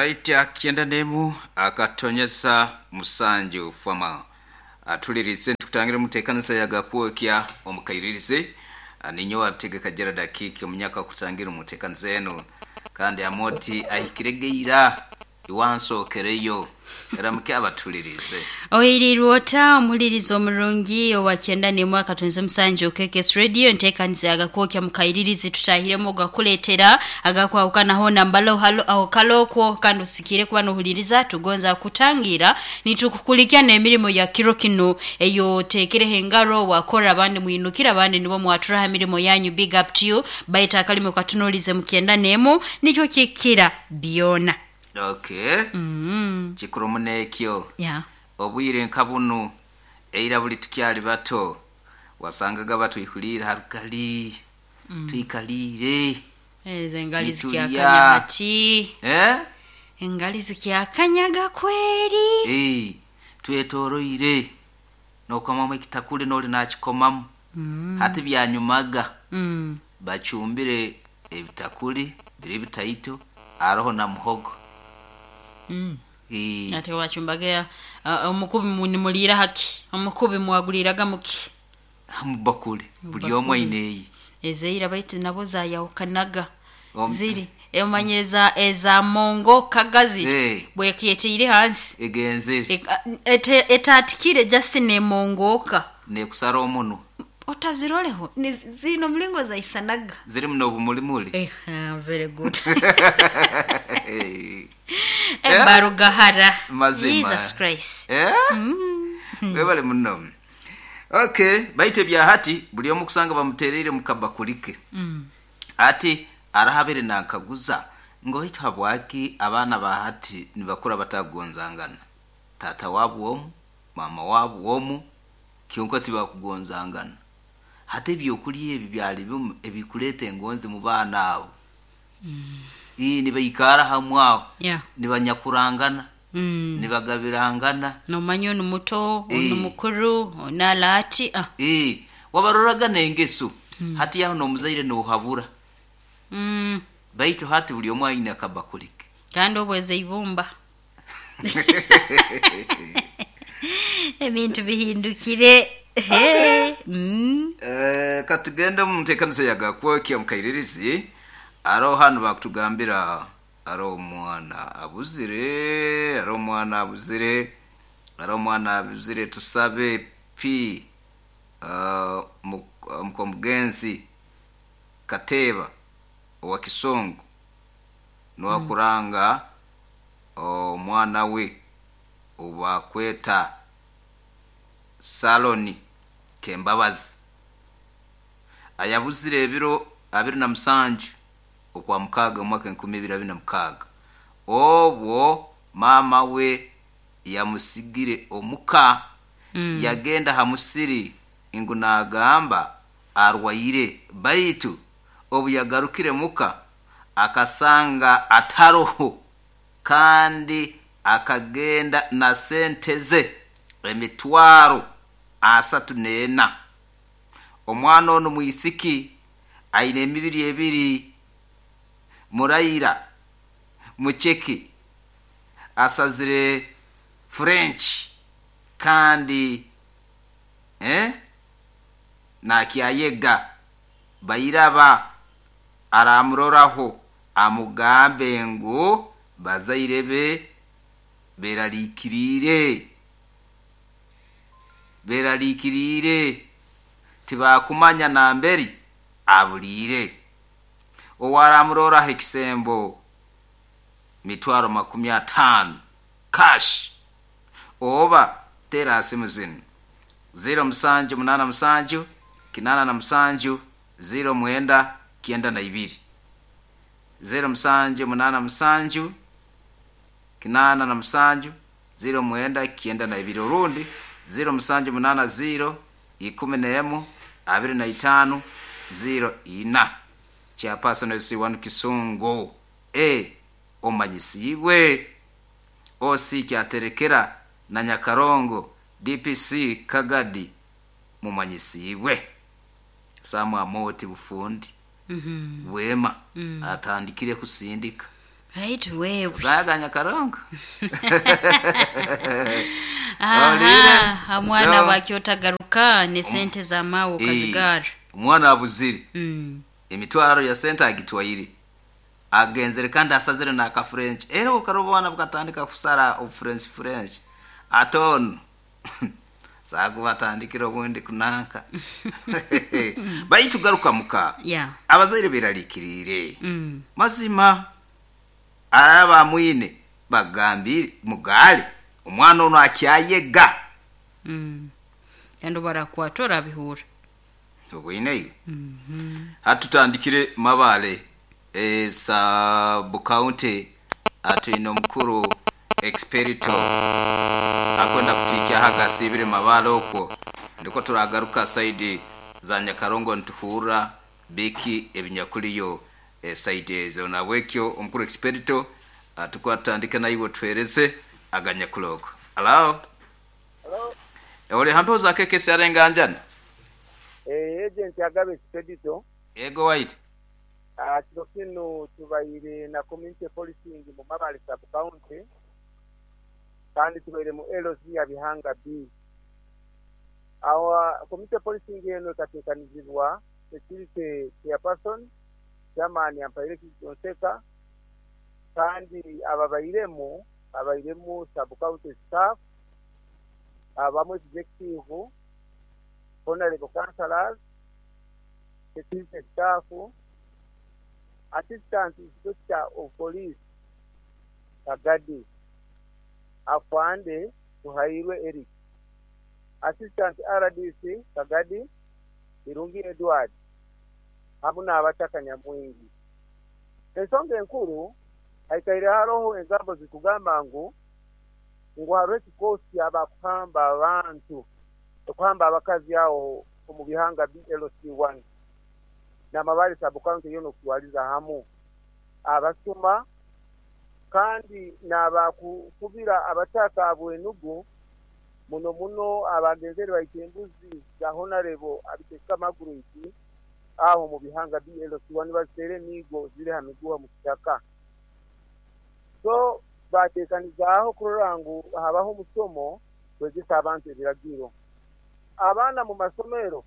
Right kyenda n'emu akatonyeza musanju fama atulirize nitukutangira omutekanisa ya gakwokya omukairirize ninyowe abitegeka Gerald Akiiki omunyaka akutangira omutekanisa enu kandi Amoti ahikire geira iwansookereyo Ramuke abatulirize. Oirirwe ota omuhuliriza omurungi owa kyenda n'emwe akatunze musanju KKS Radio enteekaniza ya Gakwokya mu kairirizi tutahiremu ogakuleetera agakwahukana hoona mbalo halo aho kale okwo kandi osikiire kuba nohuliriza tugonza kutangiira nitukukulikya n'emirimo ya kiro kinu eyoteekireho engaro wakora abandi mwinukire abandi nibo mwaturaho emirimo yanyu big up to you baitu akalimi katunulize mu kyenda n'emu nikyo kikira byona. Okay. Kikuru muno ekyo. Yeah. Obwire nka bunu, eira buli tukyali bato, wasangaga batwihuliire ha rugali, twikaliire, Ezo engali zikyakanya nitulya. hati. Eh? Engali zikyakanyaga kweri. Eh, twetoroire. Nokomamu ekitakuli noli nakikomamu. Hati byanyumaga. Bacumbire ebitakuli biri bitaito aroho na muhogo. Eh. Ate wacumbaga omukubi nimuliira haki? Omukubi mwaguliraga muki? Mubakuli buli omwe aine eye. Ezeira baitu nabo zayahukanaga. Ziri omanyire eza eza mongo kagazi Eh. bwekyeteire hansi Egenzere. Etatikire just nemongoka. Nekusara omunwa. Otaziroleho zino mulingo zaisanaga. Zirimu n'obumulimuli. Eh, very good. Eh. Ebarugahara. Mazima. Jesus Christ. Eh? Webale muno. Okay, baitu ebya hati buli omu kusanga bamutereire mu kabakuli ke. Ati arahabire nankaguza ngu baitu habwaki abaana ba hati nibakura batakugonzangana. Taata wabu omu, maama wabu omu, kyonka tibakugonzangana. Hati ebyokulya ebi byali bimu ebikuleeta engonzi mu baana abo. Ii nibaikara hamwe aho. Yeah. Nibanyakurangana. Nibagabirangana. Nomanya onu muto, onu Eh. mukuru, onu alaati. Ah. Ii, wabaroraga n'engeso. Hati aho n'omuzaire nohabura. Baitu hati buli omu aine akabakuli ke. Kandi obweza eibumba. Ebintu bihindukire. Okay. Mm. Eh, katugende omu nteekaniza ya Gakwokya omu kairirizi. Aroho hanu bakutugambira aroho omwana abuzire, aroho omwana abuzire, aroho omwana abuzire tusabe P uh, mukomugenzi Kateeba owa Kisongo niwakuranga omwana we obakweta Saloni Kembabazi ayabuzire ebiro 27 okwa mukaaga omwaka 2026 obwo maama we yamusigire omuka yagenda ha musiri ngu nagamba arwaire baitu obu yagarukire muka akasanga ataroho kandi akagenda na sente ze emitwaro 34. Omwana onu mwisiki aine emibiri ebiri muraira mucheke asazire French kandi eh, nakyayega bairaba aramuroraho amugambe ngu bazaire be berarikiriire berarikiriire tibakumanya namberi abuliire owaramuroraho ekisembo mitwaro 50 cash oba tera simu zinu 0787 87 09 92 0787 87 09 92 orundi 0780 11 25 04 chairperson SC1 Kisungu e omanyisiibwe OC Kyaterekera na Nyakarongo DPC Kagadi mumanyisiibwe Samu Amoti bufundi bwema atandikire kusindika. Baitu wewe. Gaga Nyakarongo. Olire? Aha, omwana So, bwakyotagaruka ne sente za mawe okazigara. Omwana abuzire. Emitwaro ya sente agitwaire. Agenzere kandi asazire n'aka French. Era okaroba obwana bukatandika kusara obu French. Ate onu saagu batandikire obundi kunanka. Baitu garuka muka. Yeah. Abazaire berarikirire. Mazima araba mwine bagambire mugale omwana ono akyayega. Kandi barakwata orabihura. Obwineyo. Hatutandikire Mabale sub county atwine omukuru Experito akwenda kutikya hagasibire Mabale okwo ndiko turagaruka saidi za Nyakarongo nituhurra biki ebinyakuliyo saidi ezo nabwekyo omukuru Experito tukwatandika naiwe tuhereze aganyakuloko. Hello? Hello? Ori hampeho za KKS arenganjana? Agent Agabe Expedito. Ego white. Kiro kinu tubaire na community policing mu Mabale sub county kandi tubaire mu LC ya Bihanga B. Awa community policing eno ekateekanizibwa security chairperson chairman Ampaire Konseka kandi ababairemu abairemu sub county staff abamu executive honorable councillors security staff assistant inspector of police Kagadi Afande Tuhairwe Eric assistant RDC Kagadi Birungi Edward hamu n'abataka Nyamwingi. Ensonga enkuru haikaire haroho engambo zikugamba ngu hariho ekikosi abakuhamba abantu okuhamba abakazi aho omu bihanga BLC1 n'Amabale sub county yoona okutwaliza hamu abasuma kandi n'abakukubira abataka abwenugu muno muno abagenzere baita embuzi za honorable Abiteka Margaret aho mu bihanga BLC1 baziteera emiigo ziri ha miguha mu kitaka. So bateekanizaaho kurora ngu habaho omusomo kwegesa abantu ebiragiro. Abaana mu masomero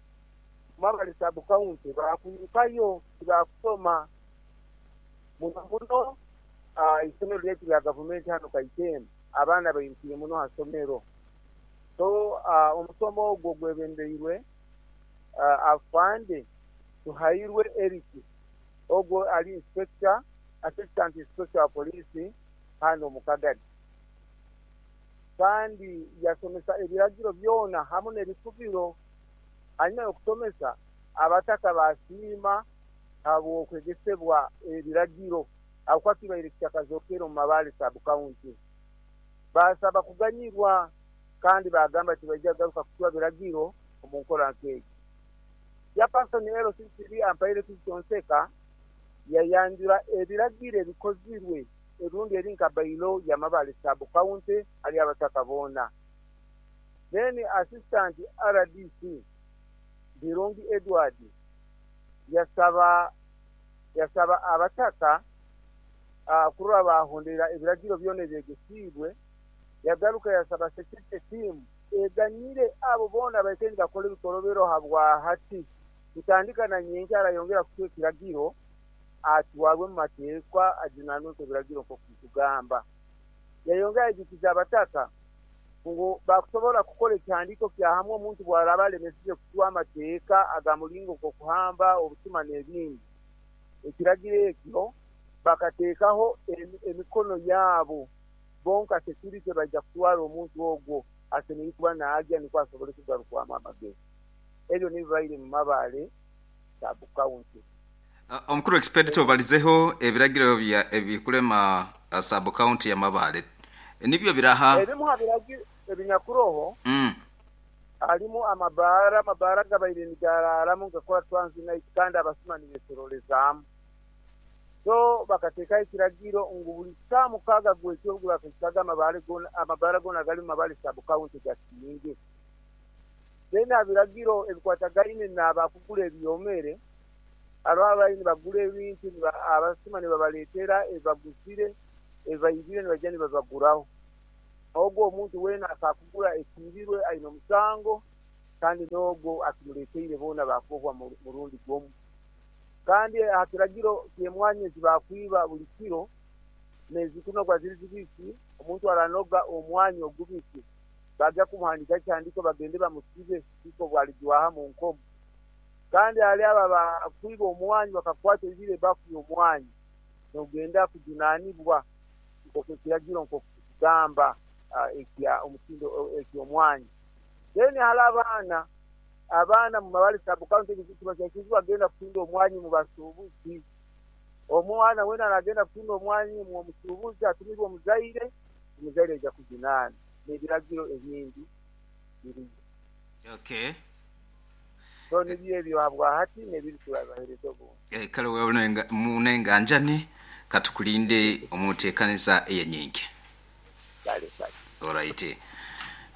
Mabale sub county bakwirukayo tibakusoma muno muno isomero lyaitu lya gavumenti hano Kaitema abaana bairukire muno ha somero. So omusomo ogwo gwebembeirwe Afande Tuhairwe Eric ogwo ali inspector assistant inspector wa police hano mu Kagadi. Kandi yasomesa ebiragiro byona hamu n'ebikubiro. Hanyuma y'okusomesa abataka basiima habw'okwegesebwa ebiragiro ahabw'okuba kibaire kitakazokere omu Mabale sub county. Baasaba kuganyirwa kandi baagamba tibaija kugaruka kucwa biragiro omu nkora nk'egi. Chairperson LC3 Ampaire Kizito Nseka yayanjura ebiragiro ebikozirwe erundi eri nka bailo ya Mabale sub county hali abataka boona. Then assistant RDC Birungi Edward yasaba abataka kurora bahondera ebiragiro byona ebyegesiibwe. Yagaruka yasaba security team eganyire abo boona baikaire nibakora ebikorobero habwa hati kutandika na nyenkya arayongera kucwa ekiragiro atwarwe mu mateekwa ajunanwe ebiragiro nk'okutugamba. Yayongera yajukiza abataka ngu bakusobola kukora ekihandiiko kya hamwe omuntu bwaraba alemesize kucwa amateeka aga muringo nk'okuhamba obusuma n'ebindi. Ekiragiro ekyo bakateekaho emikono yaabo bonka security baija kutwara omuntu ogwo asemeriire kuba naagya nikwo asobole kugarukwamu amagezi. Ebyo nibibaire mu Mabale sub county. Omukuru Expedito obalizeho ebiragiro ebikulema sub county ya Mabale. Nibyo biraha? Ebimu ha biragiro ebinyakuroho harimu amabaara gabaire nigararamu gakora transit kandi abasuma nibesorolezaamu. So bakateekaho ekiragiro ngu buli saaha 6 gwekiro gubakaisaga amabaara goona gari mu Mabale sub county gakinge. Then aha biragiro ebikwatagaine n'abakugura ebyomere Hariho ababaire nibagura ebintu abasuma nibabaleetera ebi baguzire, ebi baibire nibaija nibabaguraho. Ogwo omuntu weena akakugura ekiibirwe aine omusango, kandi n'ogwo akimuleeteire boona baakohwa murundi gumwe. Kandi aha kiragiro ky'emwanya ezi baakwiba buli kiro, n'ezikunogwa ziri zibisi, omuntu aranoga omwanya ogubisi, baagya kumuhandiikaho ekihandiiko bagende bamusibe kuhika obu alijwaha mu nkomo. Kandi ahari abo abakwiba omwanya bakakukwata oibire ebafu y'omwanya, nogenda kujunaanibwa nk'oku ekiragiro nk'oku kirikugamba ekya omutindo eky'omwanya. Then hariho abaana, abaana mu Mabale Sub County tibakyakirizibwa kugenda kutunda omwanya omu basuubuzi. Omwana weena aragenda kutunda omwanya omu omusuubuzi atumirwe omuzaire, omuzaire aija kujunaana n'ebiragiro ebindi biriyo. Okay. So nibyo ebyo habwahati n'ebindi turabibahereza obundi. Eh, kale wewe munenganjani katukulinde omu nteekaniza eyenyingi. Kale kale. Alright.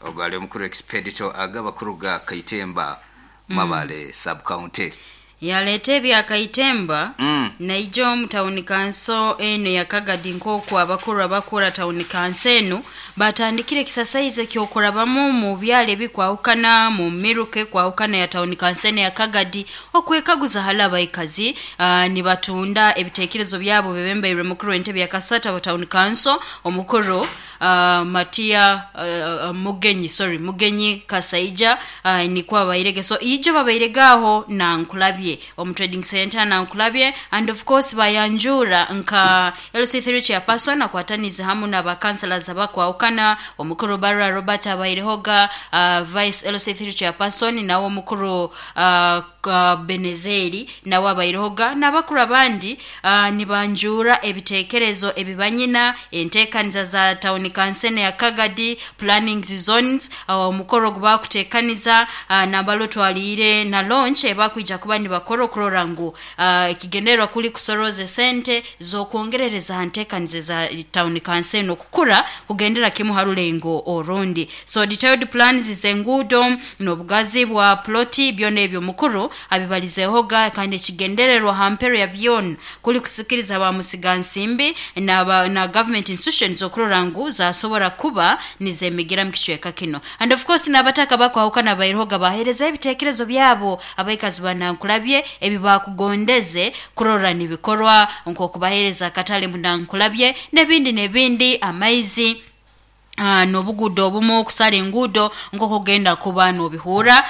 Ogwo ali omukuru Expedito Agaba kuruga Kaitemba, Mabale Sub County. Yaleeta ebya Kaitemba naija omu tawuni kanso eno eya Kagadi nk'oku abakuru abakura tawuni kanso eno batandikire ekisasaizi eky'okurabamu mu byaro ebikwahukana mu miruka ekwahukana eya tawuni kanso eno eya Kagadi okwekaguza hali abaikazi nibatunda ebitekerezo byabo bebembeirwe mukuru w'entebe ya Kasata wa tawuni kanso omukuru Matia Mugenyi sorry Mugenyi Kasaija nikwo babairege so ijo babairege aho Nankulabye omu trading centre Nankulabye and of course bayanjuura nka LC3 chairperson akwataniize hamu na ba councillors abakwahukana omukuru Barra Robert abairehoga vice LC3 chairperson nawe omukuru Benezeri nawe abairehoga n'abakuru abandi nibanjuura ebitekerezo ebi banyina, entekaniza za tawuni kansene ya Kagadi, plannings zones, omukoro ogu bakutekaniza nambala otwaliire na launch ebakwija kuba nibakora okurora ngu ekigendererwa kuri kusorooza esente z'okwongerereza aha ntekaniza eza tawuni kanso enu okukura kugendera kimu ha rulengo orundi. So detailed plans z'enguudo n'obugazi bwa ploti byona ebyo omukuru abibalizeehoga kandi ekigendererwa ha mperu ya byona kuri kusikiriza ba musigansimbi na na government institutions okurora ngu zasobora kuba nizemigira mu kicweka kinu. And of course n'abataka abakwahukana bairehoga baheerezaho ebitekerezo byabo abaikazi ba Nankulabye ebi baakugondeze kurora nibikorwa nk'okubaheereza akatale mu Nankulabye n'ebindi n'ebindi, amaizi n'obuguudo obumu, okusara enguudo nk'oku ogenda kuba n'obihuura.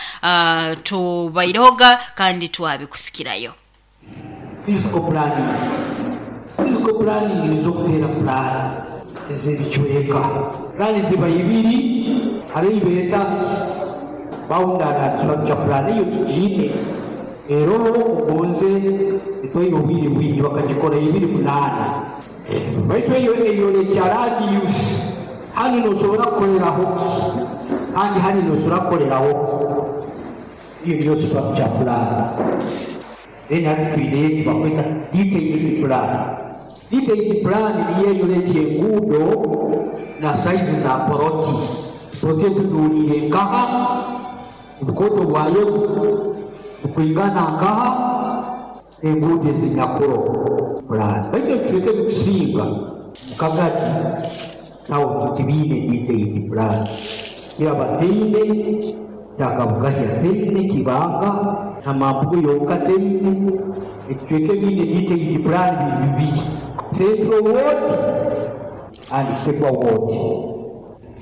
Tubairehoga kandi twabikusikirayo. Physical Planning Physical Planning nizo kuteera pulaani ez'ebicweka. Pulaani ziba ibiri, hariho ei beeta Boundary and Structure Plan eyo tugiine eroho ogonze etwaire obwire bwingi bakagikora ibiri munaana baitu eyo eyorekya land use hanu nosobora kukoreraho kandi hanu nosobora kukoreraho. Eyo niyo structure plan. Then hati twineyo eki bakweta detailed plan. Detailed plan niyo eyorekya enguudo na size za poloti. Poloti etunuuriire nkaha, obukooto bwayo bukwingana nkaha, n'enguudo ezinyakuro plan. Baitu ebicweka ebikusinga omu Kagadi town tibiine detailed plan. Kiraba teine, Kyakabugahya teine, Kibanga na Mambugu yonka teine. Ebicweka ebiine detailed plan biri bibiri, Central Ward and Kisekwa Ward.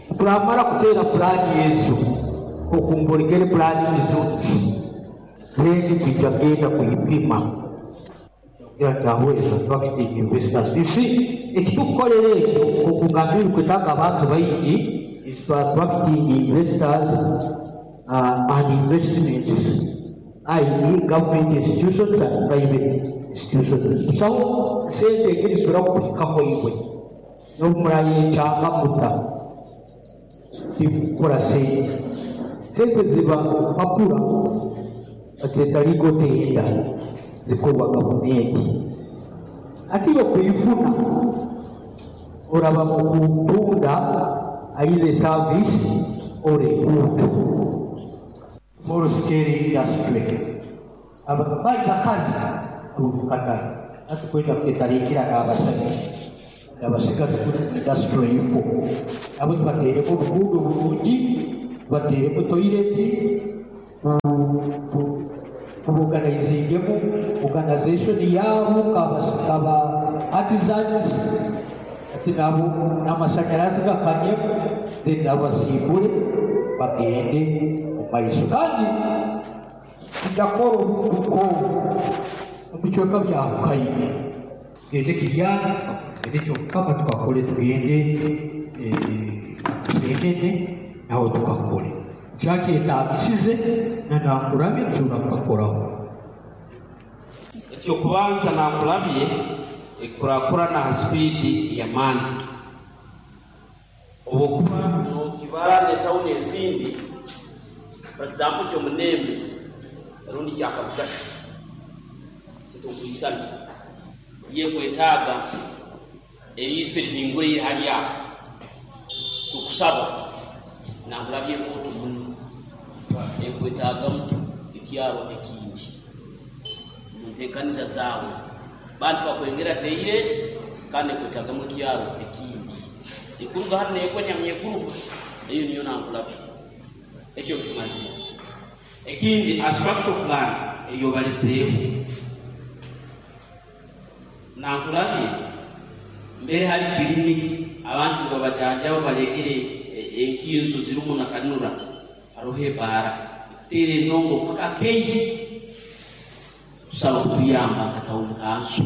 Ku turamara kuteera pulaani ezo, nk'oku mborekere pulaani zones, then twija kugenda kuhipima. Kugira nti ahweza attracting investors. You see, eki tukukorera ekyo nk'oku ngambire birikwetaaga abantu baingi is to attracting investors and investments i.e. government institutions and private institutions. Busaho sente egi erisobora kukuhikaho iwe n'obu murayekyanga muta tikukora sente. Sente ziba mpapura. Bakyeta legal tender zikorwa gavumenti. Hati iwe kwifuna oraba mu kutunda either service or a good. Small scale industry. Aba bali bakazi. Katare hati kwenda kuketarikira n'abasajja n'abasigazi kuri industry ifo nabo tubateereko obuguudo burungi, tubateereko toyireti, tuboganayizingemu organization yaabo kaba artisans, ati nabo n'amashanyarazi gakanyemu, then nabo basimbure bagende omu maiso. Kandi ndakora obundi omu bicweka byahukaine, tugende Kiryana, tugende Kyomukama tukakore, tugende Kasenene naho tukakore. Kyakyetagisize na Nankulabye tushobora kukakoraho. Eky'okubanza Nankulabye ekurakurana ha sipiidi y'amaani. Obwokuba nokibara n'etawuni ezindi, for example Kyomunembe rundi Kyakabugasha titurukuisana. Yekwetaaga eriiso erihinguraire hali aho. Tukusaba Nankulabye ekooto muno ekwetaagamu ekyaro ekindi omu nteekaniza zaawe. Bantu bakwengera daily kandi ekwetaagamu ekyaro ekindi. Ekuruga hanu neegwa Nyamyeguru, eyo niyo Nankulabye. Ekyo nkimazire. Ekindi aha structural plan ei obalizeeho, Nankulabye mbere hali kiliniki abantu nibabajanjaba balekere enkinzo zirimu na kanura, haroho ebaara ekuteera endongo paka Keihi. Tusaba kutuyamba nka tawuni kanso.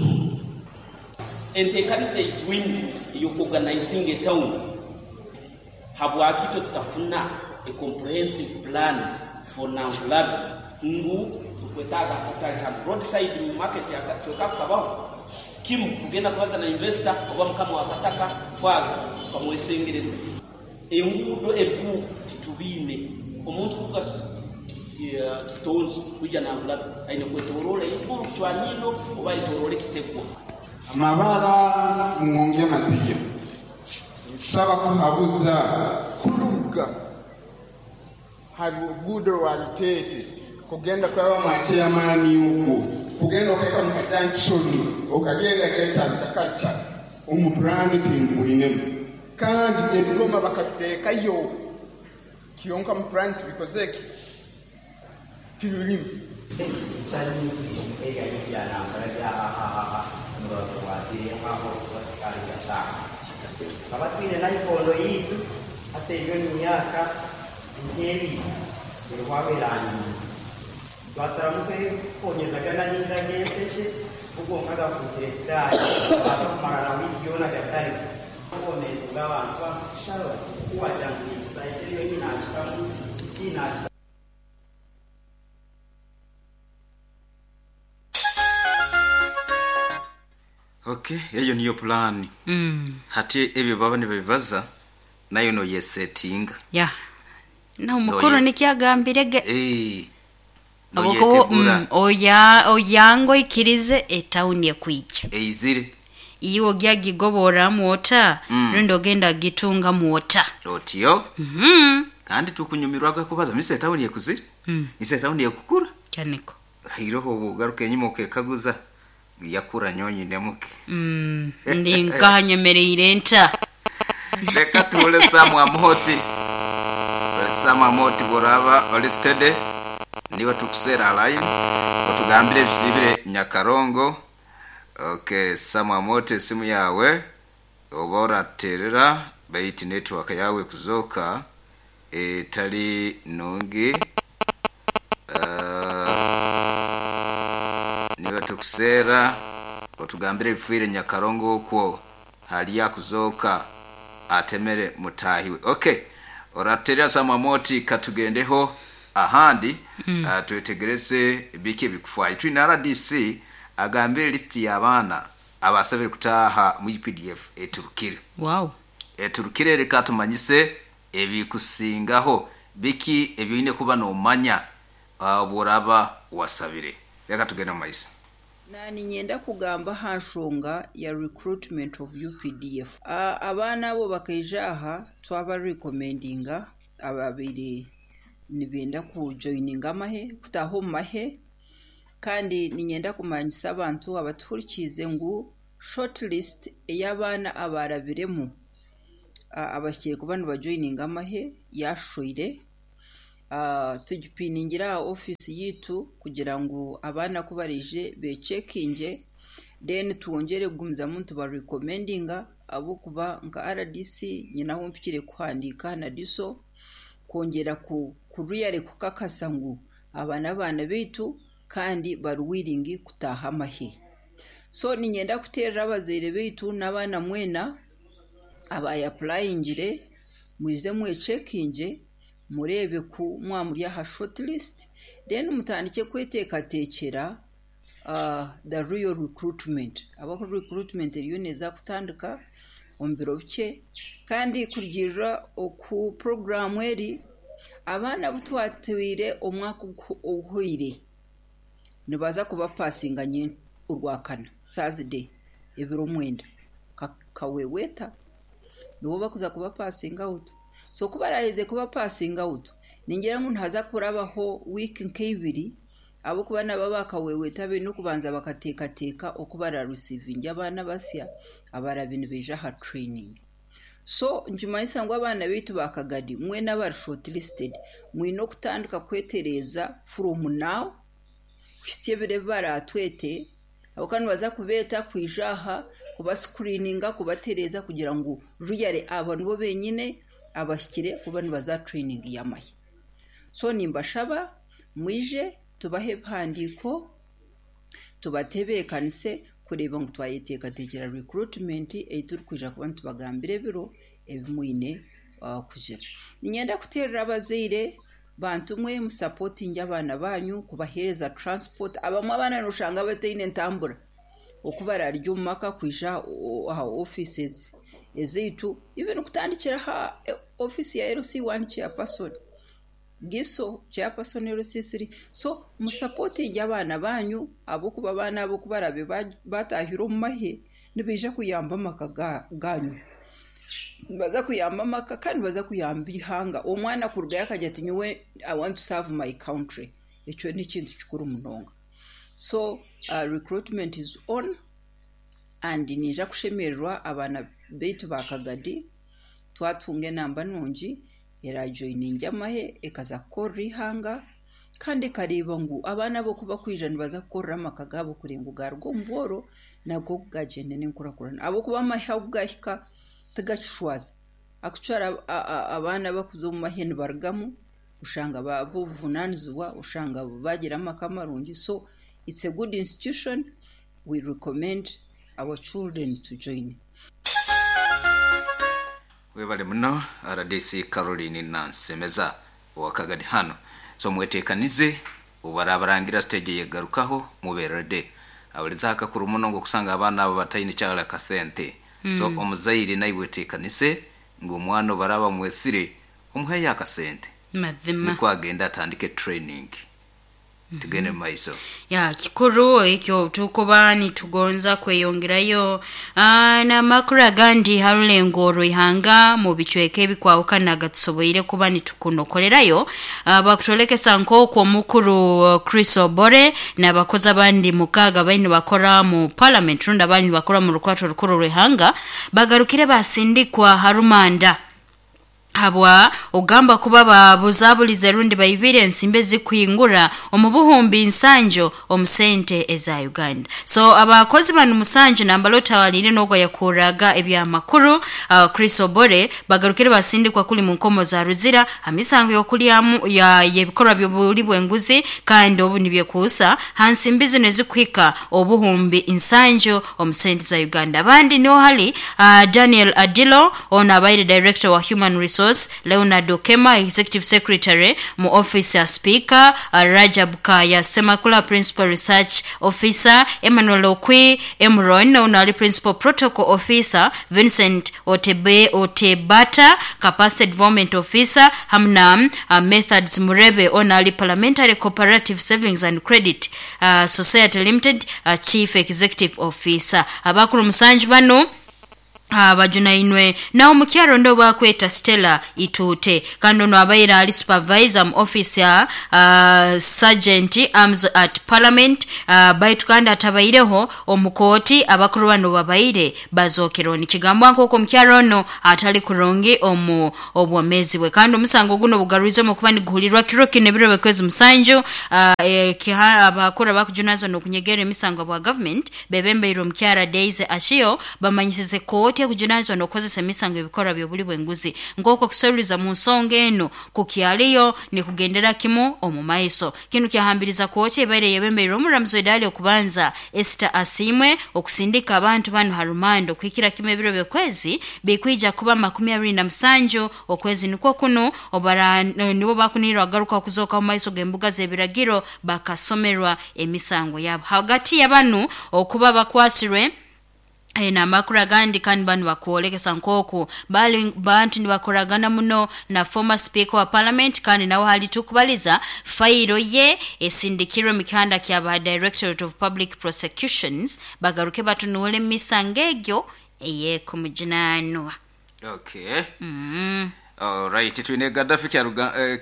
Enteekaniza ei twine ey'okuoganaizinga etawuni, habwaki itwe tutafuna a comprehensive plan for Nankulabi ngu tukwetaaga akatale hanu, roadside market akacweka ako kabaho kimu kugenda kubaza na investor oba mukama w'akataka faaza tukamwesengereza. Enguudo ebikuubo titubiine. Omuntu kuruga Kitonzo kwija Nankulabi aine kwetoroora eiguru Kicwanyindo oba ayetoroore Kitegwa. Amabara Muwonge Matia, Nitushaba kuhabuza. Kuruga ha ruguudo rwa Luteete kugenda kuraba mwa Chairman ogwo kugenda okahika mu kajankishoni okagenda Keeta-Rutakaca omu puraani tindubwinemu kandi ebigoma bakabiteekayo kyonka omu puraani tibikozeki tibirimu. Tukaba twine naikondo yaitu hati eriyo n'emyaka nk'ebiri eriho erangiire. Twasaramu kwekonyezagana amaizi ag'enseke go gonka gafuukire sitaani gabaasa kumara na wiiki yoona gatariho. Obwomeezi bw'abantu kushaba ku waagira ngu ninkisa eki eriyo nyina akitamu kiki naakitamu. Okay, eyo niyo pulaani. Hati ebyo baba nibabibaza, naiwe noyesetinga. Ya. N'omukuru nikyo agambire ge. Eh, Habwokuba noyetegura. oya oyanga oikirize etawuni ekwija. Eizire. Iwe ogya gigoborramu ota rundi ogenda gitungamu ota? Otyo. Kandi tukunyumirwaga kubaza mise etawuni ekuzire. Mise etawuni ekukura. Kyaniko. Hairoho obwogaruka enyima okekaguza yakura nyonyinemuke. Ndi nkaha nyemereire nta? Leka tuhule Sam Amuhoti. Sam Amuhoti bworaba oli steady niwe tukuseera line otugambire ebisiibire Nyakarongo. Okay, Sam Amuhoti esimu yawe oba oraterera baitu network yawe ekuzooka etali nungi. Niwe tukuseera otugambire ebifiire Nyakarongo okwo hali akuzooka atemere mutaahi we. Okay, oraterera Sam Amuhoti katugendeho ahandi twetegereze biki ebikufaayo. Twine RDC agambire lisiti y'abaana abasabire kutaaha mu UPDF eturukire. Wow. Eturukire reka tumanyise ebikusingaho biki ebyoine kuba nomanya obworaba wasabire. Reka tugende omu maiso. Naaniinyenda kugamba aha nshonga ya recruitment of UPDF. Abaana abo bakaija aha twabarekomendinga ababaire nibenda kujoininga amahe, kutaaha omu mahe. Kandi niinyenda kumanyisa abantu abatuhurikiize ngu shortlist ey'abaana abaarabiremu abahikire kuba nibajoyininga amahe yaashoire. Tugipiningire aha ofiisi yaitu kugira ngu abaana ku baraije beecekingye then twongyere kugumizamu nitubarekomendinga ahabw'okuba nka RDC nyine ahu mpikire kuhandiika na DISO kwongyera kuriyare kukakasa ngu aba n'abaana baitu kandi bari willing kutaaha amahe. So niinyenda kuteerera abazaire baitu n'abaana mwena abaayapurayingire mwije mwecekingye mureebe ku mwaba muri aha short list then mutandike kweteekateekyera the real recruitment ahabw'okuba recruitment eriyo neeza kutandika omu biro bikye kandi kurugiirira oku puroguraamu eri, abaana abu twatwire omwaka oguhweire nibaza kubapasinga orwakana Thursday ebiro mwenda kaweweeta nibo barikuza kubapasinga out. So ku baraaheze kubapasinga out, ningira ngu nihaza kurabaho wiiki nk'eibiri ahabw'okuba nabo abakaweweeta baine okubanza bakateekateeka oku bararisiivinge abaana abasya abaraabe nibaija aha training. So nikimanyisa ngu abaana baitu ba Kagadi mwena abari shortlisted mwine okutandika kwetereeza from now kuhitsya ebiro ebi baraatwete ahabw'okuba nibaza kubeeta kwija aha kubascreeninga kubatereeza kugira ngu really abo nibo benyine abahikire kuba nibaza aha training y'amahe. So nimbashaba mwije tubahe ebihandiiko tubatebeekanise kureeba ngu twayeteekateekyera recruitment ei turikwija kuba nitubagambira ebiro ebi mwine kugira. Niinyenda kuteerera abazaire bantu mwe musapotinge abaana baanyu kubaheereza transport. Abamwe abaana nooshanga bataine ntambura oku baraarugye omu maka kwija aha offices ezaitu even kutandikira aha ofiisi ya LC1 chairperson. Giso chairperson LC3. So musapotinge abaana baanyu ahabw'okuba abaana abo ku baraabe baataahire omu mahe nibaija kuyamba amaka gaanyu. Nibaza kuyamba amaka kandi nibaza kuyamba eihanga. Omwana kurugayo akagira ati nyowe I want to serve my country. Ekyo n'ekintu kikuru munonga. So recruitment is on and niija kushemererwa abaana baitu ba Kagadi twatunga enamba nungi eraajoyininge amahe ekaza kukorera eihanga kandi ekareeba ngu abaana abo ku bakwija nibaza kukorera amaka gaabo kureeba ngu gaaruga omu bworo nago gaagyenda n'enkurakurana ahabw'okuba amahe ahu gahika tigakishwaza. Actually abaana abakuza omu mahe nibarugamu oshanga baaba obuvunaanizibwa oshanga baagira amaka marungi so it's a good institution we recommend our children to join. Webale muno rdc Caroline Nansemeza owa Kagadi hanu. So mwetekanize obubarabarangira stage eyegarukaho mube ready. Aburize aha kakuru muno ngu okusanga abaana abo bataine kyarara kasente. So omuzaire naiwe otekanise ngu omwana obaraba bamwesire omuheyo akasente Mazima. nikwo agende atandike training. Tugende mumaiso. Ya kikuru ekyo tukuba nitugonza kweyongerayo n'amakuru agandi ha rulengo rw'ihanga mu bicweka ebikwahukana gatusoboire kuba nitukunokolerayo. Bakutwolekesa nk'oku omukuru Chris Obore n'abakozi abandi mukaaga bali nibakora mu parliament rundi abali nibakora mu rukurato rukuru rw'ihanga bagarukire basindikwa ha rumanda habwa ogamba kuba babuzabulize rundi baibire ensimbi ezikuhingura omu buhumbi nsanju omu sente eza Uganda. So abakozi banu musanju nambala otawalire n'ogwo yakuraga ebyamakuru Chris Obore bagarukire basindikwa kuli mu nkomo za Ruzira amisango y'okulyamu ya y'ebikorwa by'obuli bw'enguzi kandi obu nibyekuusa ha nsimbi zino ezikuhika obuhumbi nsanju omu sente za Uganda. Abandi niho hali Daniel Adilo ono abaire director wa Human Resource, Leonard Okema executive secretary mu office ya speaker, Rajab Kaya Semakula principal research officer, Emmanuel Okwi Emron ono ali principal protocol officer, Vincent Otebe Otebata capacity development officer hamna Methods Murebe ono ali parliamentary cooperative savings and credit society limited chief executive officer. Abakuru musanju bano Bajunainwe naho omukyaro ndo bakweta Stella Ituute, kandi ono abaire ali supervisor mu office ya Sergeant Arms at Parliament, baitu kandi atabaireho omu kooti abakuru bano babaire bazokereho. Nikigambwa nk'oku omukyaro ono atali kurungi omu obwomeezi bwe, kandi omusango guno bugarwizemu okuba niguhurirwa kiro kinu ebiro by'okwezi 7. Abakuru abakujunanizibwa n'okunyegerera emisango bwa government bebembeirwe omukyara Daisy Achio bamanyisize kooti ekujunanizibwa n'okukozesa emisango ebikorwa by'obuli bw'enguzi nk'oku okusoroliza mu nsonga enu kukyaliyo nikugendera kimu omu maiso. Kinu kyahambiriza kooti ebaire eyebembeirwe omuramuzi w'edaara ly'okubanza Esther Asiimwe okusindika abantu banu ha rumanda okuhikira kimu ebiro by'okwezi bikwija kuba 27 okwezi nikwo kunu obara nibo bakunihirwa kugaruka okuzooka omu maiso g'embuga z'ebiragiro bakasomerwa emisango yabo. Hagati ya banu okuba bakwasirwe n'amakuru agandi kandi banu bakwolekesa nk'oku bali bantu nibakoragana muno na former speaker wa parliament, kandi nawe hali tukubaliza fayiro ye esindikirwe mu kihanda kya ba Directorate of Public Prosecutions bagaruke batunuule mu misango egyo ey'ekumujunanwa. Okay. Alright, twine Gaddafi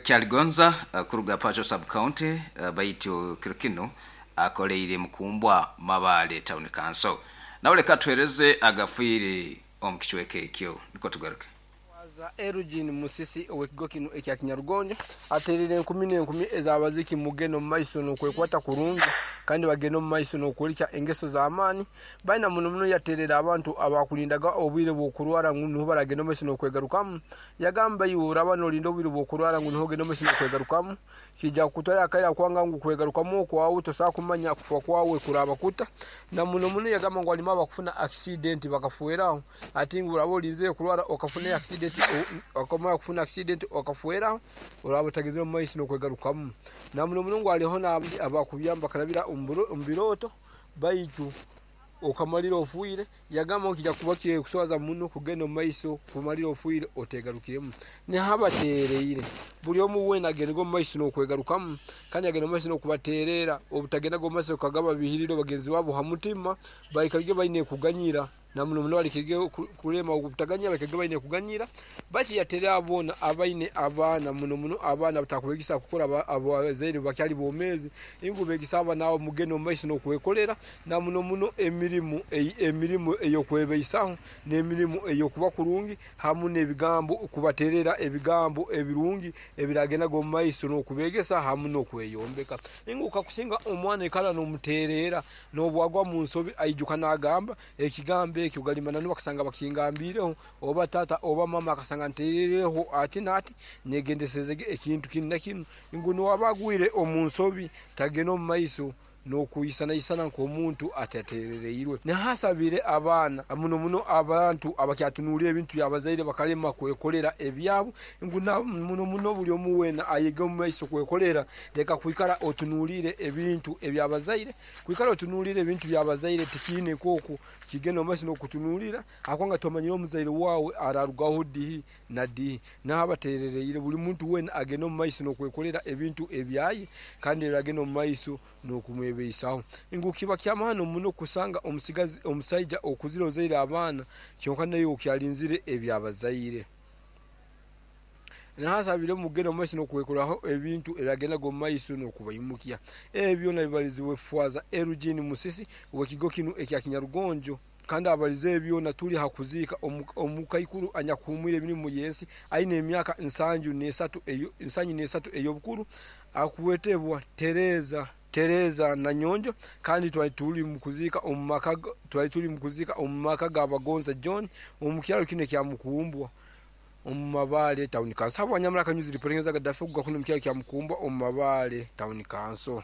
Kyaligonza kuruga Pacho Sub County, baitu kiro kinu akoleire Mukumbwa Mabaale Town Council. Nawe leka atuhereze agafiire omu kicweka ekyo nukwo tugaruke. Waza Elgin Musisi ow'ekigo kinu ekya Kinyarugonjo atereire enkumi n'enkumi ez'abaziki mugenda omu maiso n'okwekwata kurungi kandi bagenda omu maiso n'okworekya engeso z'amaani. Baina muno muno yaterera abantu abakulindaga obwire bw'okurwara ngu nuho baragenda omu maiso n'okwegarukamu. Yagamba, Iwe oraba nolinda obwire bw'okurwara ngu nuho ogende omu maiso n'okwegarukamu, kiija kukutwalira akaire akwanga ngu kwegarukamu okwawe tosobora kumanya kufa kwawe kuraba kuta. Na muno muno yagamba ngu halimu abakufuna akisidenti bakafweraho. Ati ngu oraba olinzire kurwara okafuna akisidenti, okamara kufuna akisidenti okafweraho, oraba otagenzire omu maiso n'okwegarukamu. Na muno muno ngu haliho n'abandi abakubyama bakarabira omu birooto. Baitu okamalira ofiire. Yagamba ngu kija kuba kirikuswaza muno kugenda omu maiso kumalira ofiire otegarukiremu. Nihabatereire buli omu weena agendege omu maiso n'okwegarukamu kandi agende omu maiso n'okubatereera obutagendaga omu maiso kukagaba bihiriro bagenzi babo ha mutima baikarege baine kuganyira. Na muno muno balekege kulema obutaganyira, balekege baine kuganyira. Baitu yaterera boona abaine abaana, muno muno abaana abatakubegesa kukora abazaire bakyali bomezi, ngu begese abaana abo mugende omu maiso n'okwekolera, na muno muno emirimo emirimo ey'okwebeisaho, n'emirimo ey'okuba kurungi, hamu n'ebigambo kubaterera ebigambo ebirungi ebiragendaga omu maiso n'okubegesa hamu n'okweyombeka. Ngu kakusinga omwana ikara n'omuterera, N'obu agwa mu nsobi aijuka naagamba ekigambo ekyo, gali mananu bakasanga bakingambiireho, oba taata oba maama akasanga ntereireho ati n'ati, nyegendeserezege ekintu kinu na kinu, ngu n'owaba agwire omu nsobi tagenda omu maiso n'okwisanaisana nk'omuntu ataterereirwe. Nihasabire abaana, muno muno abantu abakyatunuulira ebintu by'abazaire bakalema kwekolera ebyabo, ngu na muno muno buli omu weena ayege omu maiso kwekolera. Leka kwikara otunuulire ebintu eby'abazaire. Kwikara otunuulire ebintu by'abazaire tikiine nk'oku kigenda omu maiso n'okutunuulira ahabw'okuba tomanyire omuzaire waawe ararugaho dihi na dihi. Naaba ateerereire buli muntu weena agenda omu maiso n'okwekolera ebintu ebyaye kandi ebiragenda omu maiso n'okumwebeisaho. Ngu kiba ky'amaani muno kusanga omusigazi omusaija okuzire ozaire abaana kyonka naiwe okyalinzire eby'abazaire. Naasabire mugende omu maiso n'okwekoraho ebintu ebyagendaga omu maiso n'okubaimukya. Ebyo byona bibalizibwe Faaza Eugene Musisi ow'ekigo kinu ekya Kinyarugonjo kandi abalize ebyo byona tuli ha kuziika omukaikuru anyakuhumwire emirimo y'ensi aine emyaka 73 ey'obukuru akwetebwa Tereza Tereza Nanyonjo kandi twali tuli mu kuziika omu maka twali tuli mu kuziika omu maka ga Bagonza John omu kyaro kinu ekya Mukumbwa. Omu Mabaale Town Council. Habwa Nyamara Kanyuzi reporting za Gaddafi okuga kunu omu kyaro kya Mukumbwa omu Mabaale Town Council.